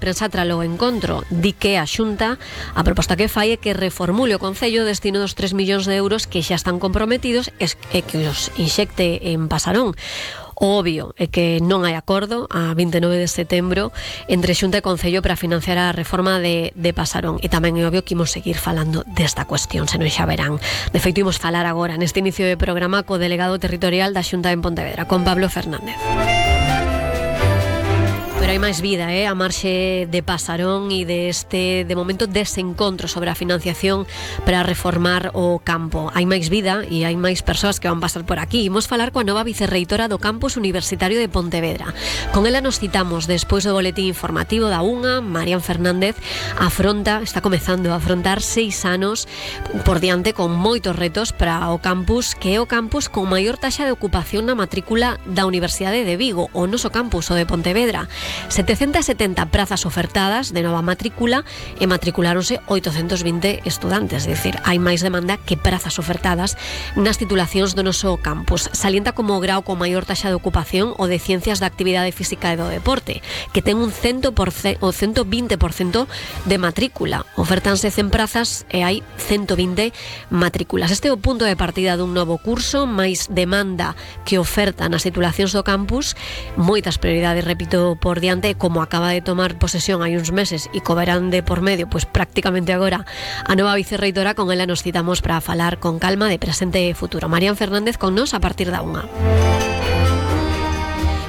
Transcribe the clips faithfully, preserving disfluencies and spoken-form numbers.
prensa tralo encontro. Di que a Xunta, a proposta que fai é que reformule o Concello o destino dos tres millóns de euros que xa están comprometidos e que os inxecte en Pasarón. O obvio é que non hai acordo a vinte e nove de setembro entre Xunta e Concello para financiar a reforma de, de Pasarón, e tamén é obvio que imos seguir falando desta cuestión, senón xa verán. De feito, imos falar agora neste inicio de programa co delegado territorial da Xunta en Pontevedra, con Pablo Fernández. Pero hai máis vida, eh? a marxe de Pasarón e de este, de momento, desencontro sobre a financiación para reformar o campo. Hai máis vida e hai máis persoas que van pasar por aquí. Imos falar coa nova vicerreitora do Campus Universitario de Pontevedra. Con ela nos citamos despois do boletín informativo da UNA. Marian Fernández afronta, está comezando a afrontar seis anos por diante con moitos retos para o campus, que é o campus con maior taxa de ocupación na matrícula da Universidade de Vigo, o noso campus, o de Pontevedra. setecentas e setenta prazas ofertadas de nova matrícula e matriculáronse oitocentos vinte estudantes, é dicir, hai máis demanda que prazas ofertadas nas titulacións do noso campus. Salienta como grau con maior taxa de ocupación o de Ciencias da Actividade Física e do Deporte, que ten un cento por cento, o ciento vinte por cento de matrícula. Ofertanse cen prazas e hai ciento vinte matrículas. Este é o punto de partida dun novo curso, máis demanda que oferta nas titulacións do campus, moitas prioridades, repito, por diante, como acaba de tomar posesión hai uns meses e co verán de por medio, pois prácticamente agora, a nova vicerreitora. Con ela nos citamos para falar con calma de presente e futuro. Marian Fernández con nos a partir da unha.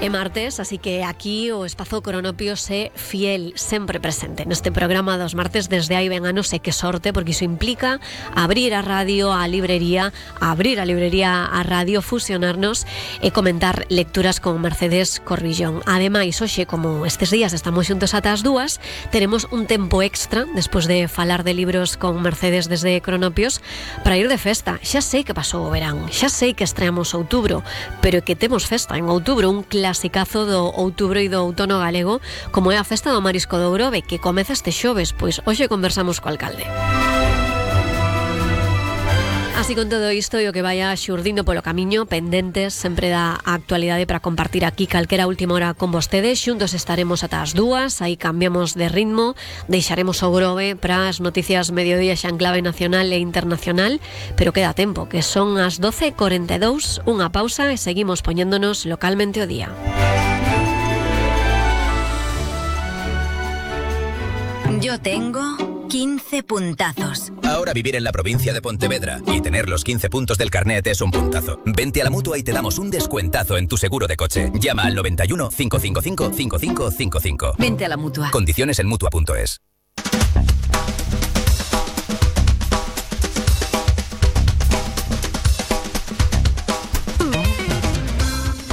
É martes, así que aquí o Espazo Cronopios é fiel, sempre presente neste programa dos martes desde hai ben anos, e que sorte, porque iso implica abrir a radio, a librería, abrir a librería a radio, fusionarnos e comentar lecturas con Mercedes Corvillón. Ademais, hoxe, como estes días estamos xuntos ata as dúas, teremos un tempo extra despois de falar de libros con Mercedes desde Cronopios para ir de festa. Xa sei que pasou o verán, xa sei que estreamos outubro, pero que temos festa en outubro, un clásico clasicazo do outubro e do outono galego, como é a festa do Marisco do Grove, que comeza este xoves. Pois hoxe conversamos co alcalde. Así, con todo isto e o que vaya xurdindo polo camiño, pendentes sempre da actualidade para compartir aquí calquera última hora con vostedes. Xuntos estaremos ata as dúas, aí cambiamos de ritmo, deixaremos o Grove para as noticias mediodía xa en clave nacional e internacional, pero queda tempo, que son as doce e cuarenta e dous, unha pausa e seguimos poñéndonos localmente o día. Yo tengo quince puntazos. Ahora vivir en la provincia de Pontevedra y tener los quince puntos del carnet es un puntazo. Vente a la Mutua y te damos un descuentazo en tu seguro de coche. Llama al noventa y uno, cinco cinco cinco, cinco cinco cinco cinco. Vente a la Mutua. Condiciones en mutua punto es.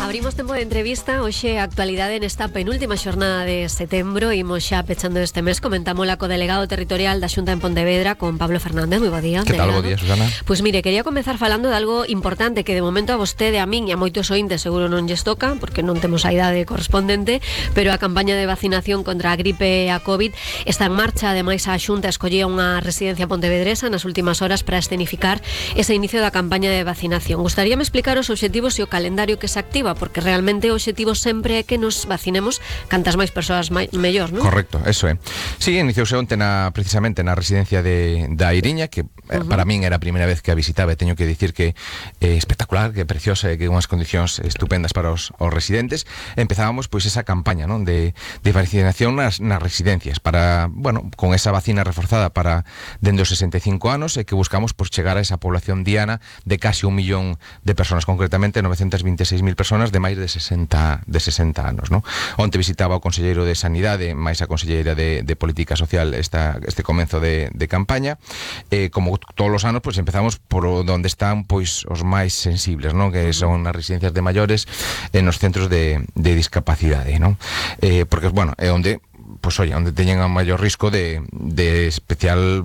Abrimos tempo de entrevista, hoxe a actualidade nesta penúltima xornada de setembro. Imos xa pechando este mes, comentámola co delegado territorial da Xunta en Pontevedra, con Pablo Fernández. Moi bo día, que tal, bo día, Susana? Pois mire, quería comezar falando de algo importante que de momento a vostede, a min e a moitos ointes seguro non lles toca, porque non temos a idade correspondente, pero a campaña de vacinación contra a gripe e a COVID está en marcha. Ademais, a Xunta escollía unha residencia pontevedresa nas últimas horas para escenificar ese inicio da campaña de vacinación. Gustaríame explicar os obxectivos e o calendario que se activa, porque realmente o objetivo sempre é que nos vacinemos cantas máis persoas mai, mellor, non? Correcto, eso é. Sí, iniciouse onte na, precisamente na residencia de, da Iriña, que uh-huh. para min era a primeira vez que a visitaba, e teño que dicir que é espectacular, que é preciosa, e que unhas condicións estupendas para os, os residentes. Empezábamos pois esa campaña, non, de, de vacinación nas, nas residencias, para, bueno, con esa vacina reforzada para dende os sesenta e cinco anos, e que buscamos pois chegar a esa población diana de casi un millón de persoas, concretamente novecentas vinte e seis mil persoas de máis de sesenta anos, non? Onte visitaba o conselleiro de Sanidade máis a conselleira de, de Política Social esta, este comenzo de, de campaña. Eh, como todos os anos, pois empezamos por onde están pois os máis sensibles, non? Que son as residencias de maiores e nos centros de, de discapacidade, non? Eh, porque, bueno, é onde pois oye, onde teñen a maior risco de, de especial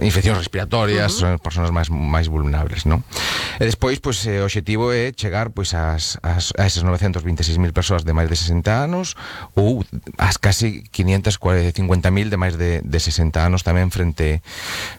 infeccións respiratorias, uh-huh. son persoas máis máis vulnerables, non? E despois, pois, o obxectivo é chegar pois ás, ás, a esas novecentas vinte e seis mil persoas de máis de sesenta anos, ou ás casi quinientas cincuenta mil de máis de, de sesenta anos tamén frente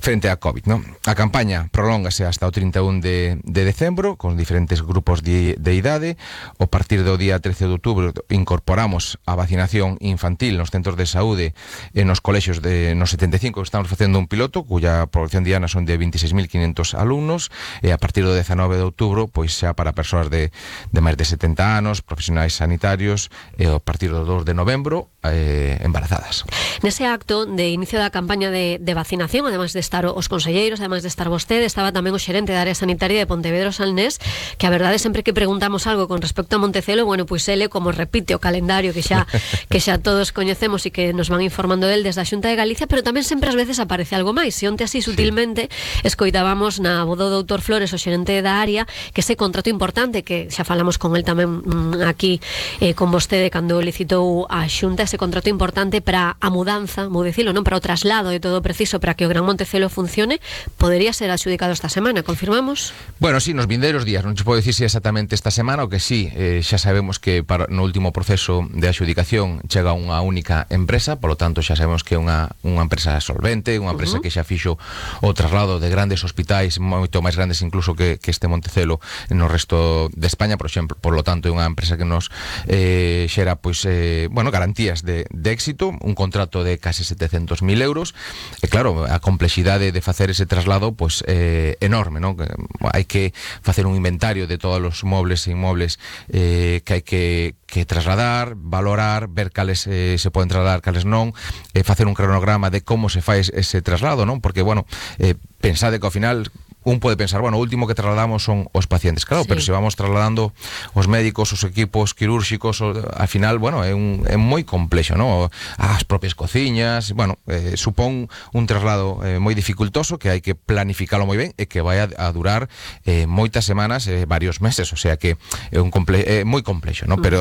frente a COVID, non? A campaña prolóngase hasta o trinta e un de, de decembro, con diferentes grupos de, de idade. O partir do día trece de outubro incorporamos a vacinación infantil nos centros de de saúde e nos colexios de nos setenta e cinco estamos facendo un piloto cuya población diana son de veintiséis mil quinientos alumnos e a partir do dezanove de outubro pois xa para persoas de, de máis de setenta anos, profesionais sanitarios e a partir do dos de novembro eh, embarazadas. Nese acto de inicio da campaña de, de vacinación, ademais de estar os conselleiros, ademais de estar vostede, estaba tamén o xerente da área sanitaria de Pontevedra Salnés, que a verdade sempre que preguntamos algo con respecto a Montecelo, bueno, pois ele como repite o calendario que xa que xa todos coñecemos e que nos van informando del desde a Xunta de Galicia, pero tamén sempre ás veces aparece algo máis. E onte así sutilmente sí. escoitábamos na voz do doutor Flores, o xerente da área, que ese contrato importante que xa falamos con el tamén mm, aquí eh, con vostede cando licitou a Xunta, ese contrato importante para a mudanza, vou dicilo, non, para o traslado de todo preciso para que o Gran Montecelo funcione, podería ser adxudicado esta semana, confirmamos? Bueno, sí, nos vindeiros días, non se pode dicir se exactamente esta semana, o que sí, eh, xa sabemos que para, no último proceso de adxudicación chega unha única empresa, polo tanto xa sabemos que é unha, unha empresa solvente, unha empresa uh -huh. que xa fixo o traslado de grandes hospitais, moito máis grandes incluso que, que este Montecelo no resto de España, por exemplo, por lo tanto é unha empresa que nos eh, xera, pois, eh, bueno, garantías de, de éxito, un contrato de case setecentos mil euros, e claro, a complexidade de facer ese traslado, pois, eh, enorme, non? Hai que facer un inventario de todos os mobles e inmobles eh, que hai que, que trasladar, valorar, ver cales eh, se poden trasladar, cales non, eh, facer un cronograma de como se fai ese traslado, non? Porque, bueno, eh, pensade que ao final un pode pensar, bueno, o último que trasladamos son os pacientes, claro, sí. pero se vamos trasladando os médicos, os equipos quirúrxicos, o, al final, bueno, é, un, é moi complexo, non? As propias cociñas, bueno, eh, supón un traslado eh, moi dificultoso que hai que planificalo moi ben e que vai a, a durar eh, moitas semanas, eh, varios meses, o sea que é un comple é moi complexo, non? Mm. Pero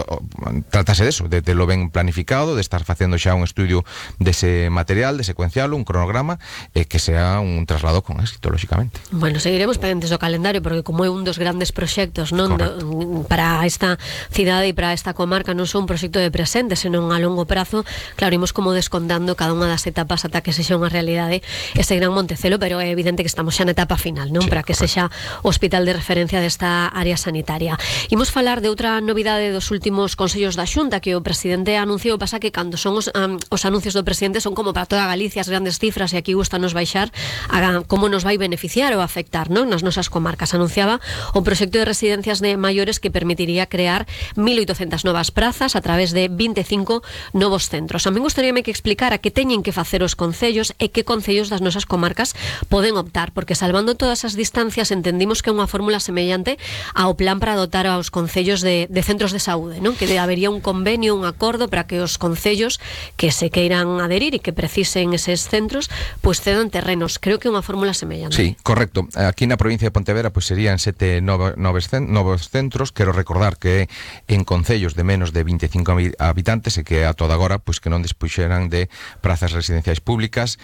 trátase de eso, de, de lo ben planificado, de estar facendo xa un estudio dese material, de secuenciarlo, un cronograma, e eh, que sea un traslado con éxito, lógicamente. Bueno, seguiremos pendentes do calendario porque como é un dos grandes proxectos, non, do, para esta cidade e para esta comarca, non son un proxecto de presente, senón a longo prazo, claro, imos como descontando cada unha das etapas ata que sexa unha realidade ese Gran Montecelo, pero é evidente que estamos xa na etapa final, non? Sí, para que sexa o hospital de referencia desta área sanitaria. Imos falar de outra novidade dos últimos consellos da Xunta que o presidente anunciou, pasa que cando son os, um, os anuncios do presidente son como para toda Galicia as grandes cifras e aquí gusta nos baixar a como nos vai beneficiar ou afectar, non, nas nosas comarcas. Anunciaba o proxecto de residencias de maiores que permitiría crear mil oitocentas novas prazas a través de vinte e cinco novos centros. A mí gustaríame que explicara que teñen que facer os concellos e que concellos das nosas comarcas poden optar, porque salvando todas as distancias entendimos que é unha fórmula semellante ao plan para dotar aos concellos de, de centros de saúde, non? Que habería un convenio, un acordo para que os concellos que se queiran adherir e que precisen eses centros, pois pues cedan terrenos. Creo que é unha fórmula semellante. Sí, correcto. Aquí na provincia de Pontevedra pois serían sete novos, novos centros. Quero recordar que en concellos de menos de vinte e cinco habitantes e que a toda agora pois que non dispuxeran de prazas residenciais públicas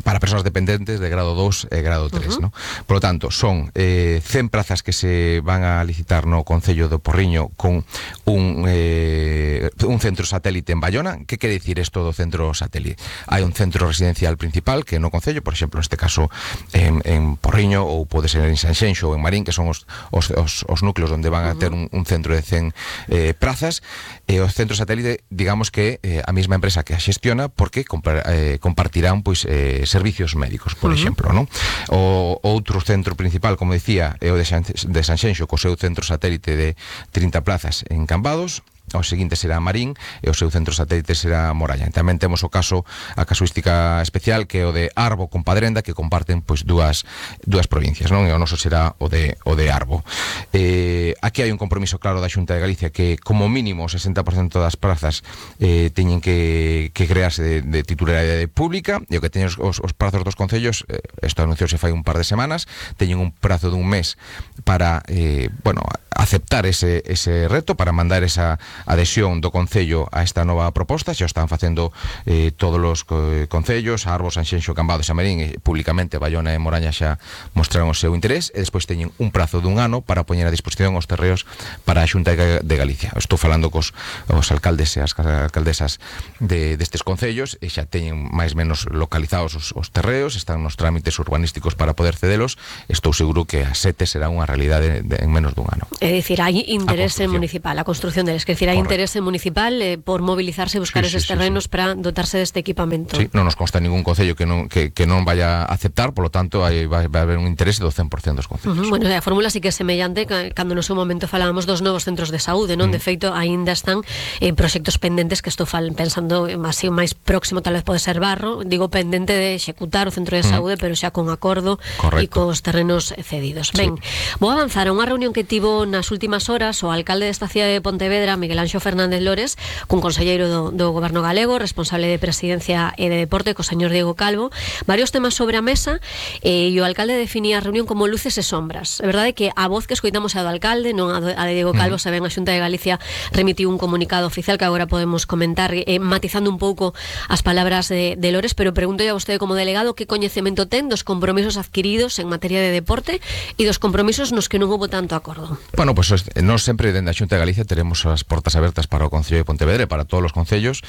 para persoas dependentes de grado dos e grado tres, uh -huh. ¿no? Por lo tanto, son eh, cen prazas que se van a licitar no concello do Porriño con un, eh, un centro satélite en Bayona. Que quere dicir isto do centro satélite? Hai un centro residencial principal que no concello, por exemplo, neste caso en, en Porriño, ou pode ser en Sanxenxo ou en Marín, que son os, os, os, os núcleos onde van a ter un, un centro de cen eh, prazas, e o centro satélite, digamos que eh, a mesma empresa que a xestiona, porque compar, eh, compartirán pois eh, servicios médicos, por uh -huh. exemplo, non? O outro centro principal, como dicía, é o de, San, de Sanxenxo, co seu centro satélite de trinta plazas en Cambados. O seguinte será Marín e o seu centro satélite será Moralla. Tamén temos o caso, a casuística especial, que é o de Arbo con Padrenda, que comparten pois dúas dúas provincias, non? E o noso será o de o de Arbo. Eh, aquí hai un compromiso claro da Xunta de Galicia que como mínimo o sesenta por cento das prazas eh, teñen que, que crearse de, de titularidade pública, e o que teñen os, os prazos dos concellos, eh, isto anunciouse fai un par de semanas, teñen un prazo dun mes para eh, bueno, aceptar ese, ese reto, para mandar esa adhesión do Concello a esta nova proposta. Xa están facendo eh, todos os concellos, Arbo, Sanxenxo, Cambados e Marín, e públicamente Bayona e Moraña xa mostraron o seu interés, e despois teñen un prazo dun ano para poñer a disposición os terreos para a Xunta de Galicia. Estou falando cos os alcaldes e as alcaldesas de, destes concellos, e xa teñen máis menos localizados os, os terreos, están nos trámites urbanísticos para poder cedelos. Estou seguro que a sete será unha realidade de, de, en menos dun ano. É dicir, hai interese municipal, a construción deles. Que decir, hai Correcto. interese municipal eh, por mobilizarse e buscar Sí, sí, eses sí, terrenos sí. para dotarse deste equipamento. Sí, non nos consta ningún concello que non, que, que non vaya a aceptar, por lo tanto, hai, vai, vai haber un interese do cen por cento dos concellos. Uh -huh. Bueno, a fórmula sí que é semellante ca- cando no seu momento falábamos dos novos centros de saúde, non? Mm. De feito, aínda están eh, proxectos pendentes que estou fal pensando así máis próximo, tal vez pode ser Barro, digo pendente de executar o centro de saúde, mm. pero xa con acordo e cos terrenos cedidos. Sí. Ben, vou avanzar a unha reunión que tivo nas últimas horas o alcalde desta cidade de Pontevedra, Miguel Anxo Fernández Lores, cun conselleiro do, do Goberno galego, responsable de Presidencia e de Deporte, co señor Diego Calvo, varios temas sobre a mesa, eh, e o alcalde definía a reunión como luces e sombras. É verdade que a voz que escoitamos é a do alcalde, non a, do, a de Diego Calvo, mm. se ben a Xunta de Galicia remitiu un comunicado oficial que agora podemos comentar, eh, matizando un pouco as palabras de, de Lores, pero pregunto a vostede como delegado que coñecemento ten dos compromisos adquiridos en materia de deporte e dos compromisos nos que non houbo tanto acordo. Bueno, pues nós sempre dende a Xunta de Galicia teremos as portas abertas para o Concello de Pontevedra e para todos os concellos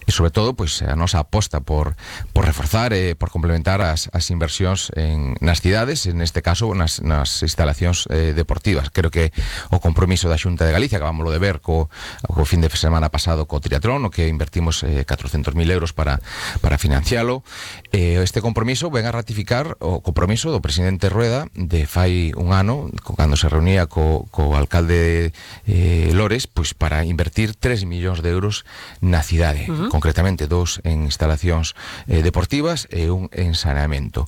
e sobre todo pues, a nosa aposta por, por reforzar e por complementar as, as inversións en, nas cidades, en este caso nas, nas instalacións eh, deportivas. Creo que o compromiso da Xunta de Galicia, acabámoslo de ver co, co fin de semana pasado co triatlón, o que invertimos eh, catrocentos mil euros para, para financialo. Eh, este compromiso ven a ratificar o compromiso do presidente Rueda de fai un ano, cando se reunía co, co alcalde eh, Lores, pues para invertir tres millóns de euros na cidade, uh-huh. concretamente dos en instalacións eh, deportivas e un en saneamento.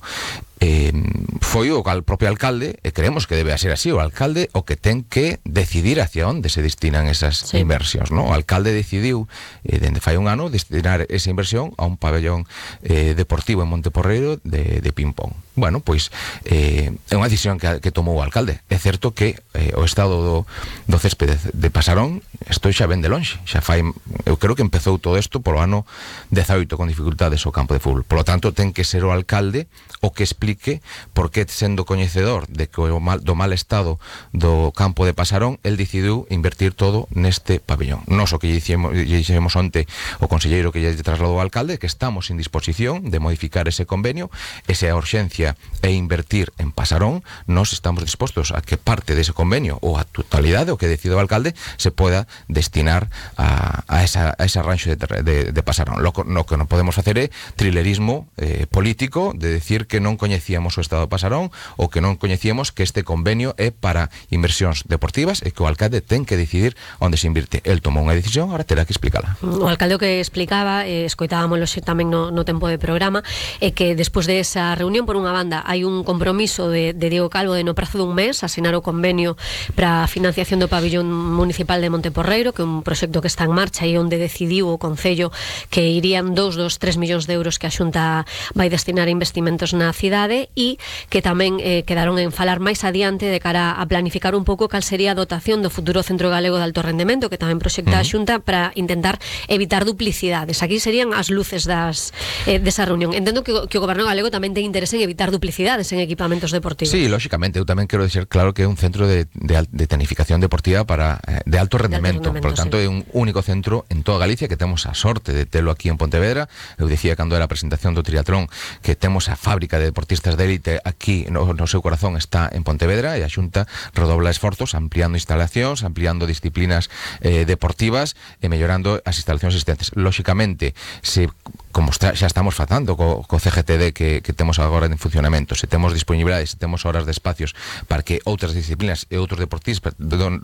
Eh, foi o cal, propio alcalde, e creemos que debe ser así, o alcalde o que ten que decidir hacia onde se destinan esas sí. inversións, ¿no? O alcalde decidiu, eh, dende fai un ano, destinar esa inversión a un pabellón eh, deportivo en Monteporreiro de, de ping-pong. Bueno, pois eh, é unha decisión que, que tomou o alcalde. É certo que eh, o estado do, do céspede de Pasarón isto xa ven de lonxe, xa fai, eu creo que empezou todo isto polo ano dezaoito con dificultades o campo de fútbol. Por lo tanto, ten que ser o alcalde o que explique por que, sendo coñecedor de que o mal, do mal estado do campo de Pasarón, el decidiu invertir todo neste pabellón. Nos o que lle dixemos onte o conselleiro que lle trasladou ao alcalde, que estamos en disposición de modificar ese convenio, esa urxencia e invertir en Pasarón, nos estamos dispostos a que parte dese convenio ou a totalidade, o que decide o alcalde, se poda destinar a, a, esa, a ese arranxo de, de, de Pasarón. Lo, lo que non podemos facer é trilerismo eh, político de decir que non coñecíamos o estado de Pasarón ou que non coñecíamos que este convenio é para inversións deportivas e que o alcalde ten que decidir onde se invirte. El tomou unha decisión, ahora terá que explicala. O alcalde o que explicaba, eh, escoitábamoslo tamén no, no tempo de programa, é que despois de esa reunión, por unha banda, hai un compromiso de, de Diego Calvo de no prazo dun mes asinar o convenio para a financiación do pabellón municipal de Monteporreiro, que é un proxecto que está en marcha e onde decidiu o Concello que irían dos dos tres millóns de euros que a Xunta vai destinar a investimentos na cidade e que tamén eh, quedaron en falar máis adiante de cara a planificar un pouco cal sería a dotación do futuro Centro Galego de Alto Rendemento, que tamén proxecta uh-huh. a Xunta para intentar evitar duplicidades. Aquí serían as luces das eh, desa reunión. Entendo que, que o Goberno galego tamén ten interese en evitar duplicidades en equipamentos deportivos. Sí, lógicamente, eu tamén quero deixar claro que é un centro de, de, de tecnificación deportiva para eh, de alto rendemento, de alto rendemento, por lo tanto sí. É un único centro en toda Galicia que temos a sorte de telo aquí en Pontevedra. Eu dicía cando era a presentación do triatlón que temos a fábrica de deportistas de élite aquí no, no seu corazón está en Pontevedra e a Xunta redobla esforzos ampliando instalacións, ampliando disciplinas eh, deportivas e mellorando as instalacións existentes. Lógicamente, se como está, xa estamos facendo co, co C G T D que, que temos agora en funcionamento, se temos disponibilidade, se temos horas de espacios para que outras disciplinas e outros deportistas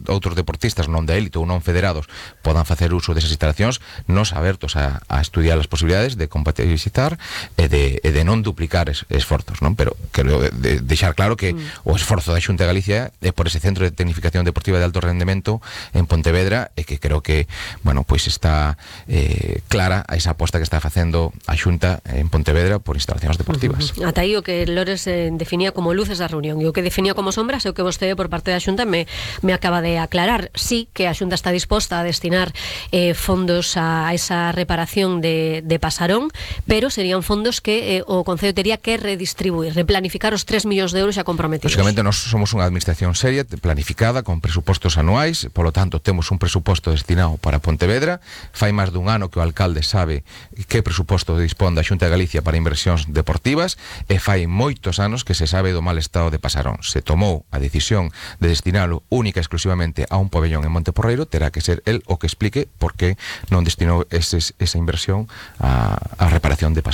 outros deportistas non de élite ou non federados podan facer uso desas instalacións, nos abertos a, a estudiar as posibilidades de compatibilizar e de, e de non duplicar es, esforzos, non? Pero quero de, de deixar claro que mm. o esforzo da Xunta de Galicia é por ese centro de tecnificación deportiva de alto rendemento en Pontevedra e que creo que, bueno, pois pues está eh, clara a esa aposta que está facendo a Xunta en Pontevedra por instalacións deportivas. Uh-huh. Ata aí o que Lores eh, definía como luces da reunión e o que definía como sombras é o que vostede por parte da Xunta me, me acaba de aclarar. Sí que a Xunta está disposta a destinar eh, fondos a esa reparación de, de Pasarón, pero serían fondos que eh, o Concello tería que redistribuir distribuir, de planificar os tres millóns de euros xa comprometidos. Lógicamente, nós somos unha administración seria, planificada, con presupostos anuais, polo tanto, temos un presuposto destinado para Pontevedra. Fai máis dun ano que o alcalde sabe que presuposto dispón da Xunta de Galicia para inversións deportivas, e fai moitos anos que se sabe do mal estado de Pasarón. Se tomou a decisión de destinalo única e exclusivamente a un pabellón en Monteporreiro, terá que ser el o que explique por que non destinou eses, esa inversión a, a reparación de Pasarón.